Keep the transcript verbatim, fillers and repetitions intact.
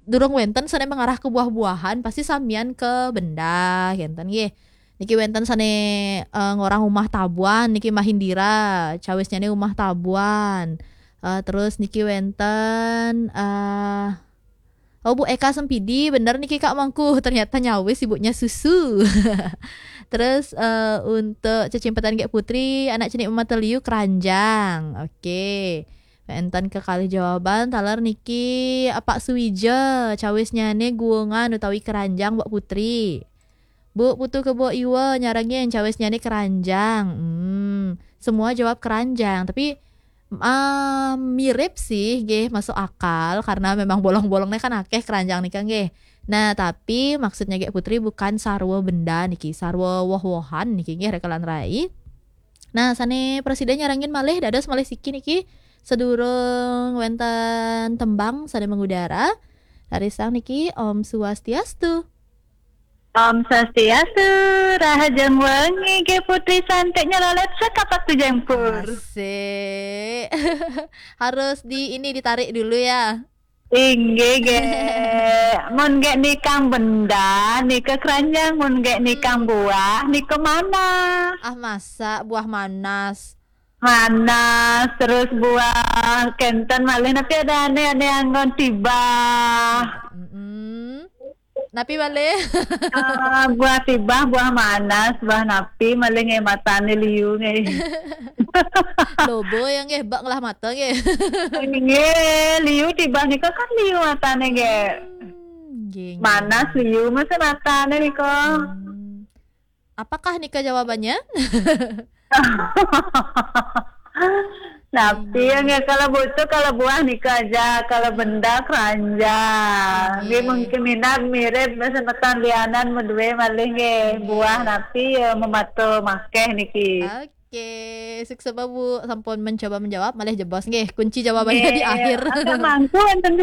durung wénten sané mengarah ke buah-buahan, pasti samian ke benda, kénten nggih. Niki wénten sané, eh, ngorang umah tabuan, niki Mahindira, cawisnyané umah tabuan. Eh, terus niki wénten, eh, oh, Bu Eka Sempidi, bener niki Kak Mangku, ternyata nyawis ibunya susu. Terus, eh, untuk cecimpetan Gék Putri, anak cenik Mama Teliu, keranjang. Oke. Wénten kekalih jawaban, taler niki Apak Suwija, cawisnyané guungan utawi keranjang, Mbok Putri. Bu Putu Kebo Iwa nyarengin, cawisnyané keranjang. Hmm, semua jawab keranjang, tapi, ah, mirip sih, nggih, masuk akal karena memang bolong-bolongnya kan akeh keranjang nika nggih. Nah, tapi maksudnya Gék Putri bukan sarwa benda niki, sarwa woh-wohan niki nggih, Raka lan Rai. Nah, sané presiden nyarengin malih, dados malih siki niki, sedurung wénten tembang sané mengudara. Rarisang niki, Om Swastiastu. Om Swastiastu, rahajeng wengi, Gék Putri, santik nyelolot sekapak tujeng pur. Asik. Harus di ini, ditarik dulu ya. Inggih, Gék. Mun Gék nikang benda, nika keranjang. Mun Gék nikang buah, nika manas. Ah, masa buah manas? Manas, terus buah kénten malih, napi adané, ané anggon tibah. Mm-mm. Napi malih? Ah, buah tibah, buah manas, buah napi malih nggih, matané liu nggih. Loba ya nggih, bak ngelah mata nggih. Nggih, liu tibah nika kan liu matané nggih. Hmm, nggih, nggih. Manas liu masa matané nika. Hmm. Apakah nika jawabannya? Tapi yang ya, kalau butuh, kalau buah nika aja, kalau benda keranjang. Nggih, mungkin minat mirip semeton lianan, medue malih nggih. Buah napi ya mematu makeh niki. Oke, sukses Bu, sampun mencoba menjawab, malih jebos nggih. Kunci jawabannya di akhir. Ada mangku enten di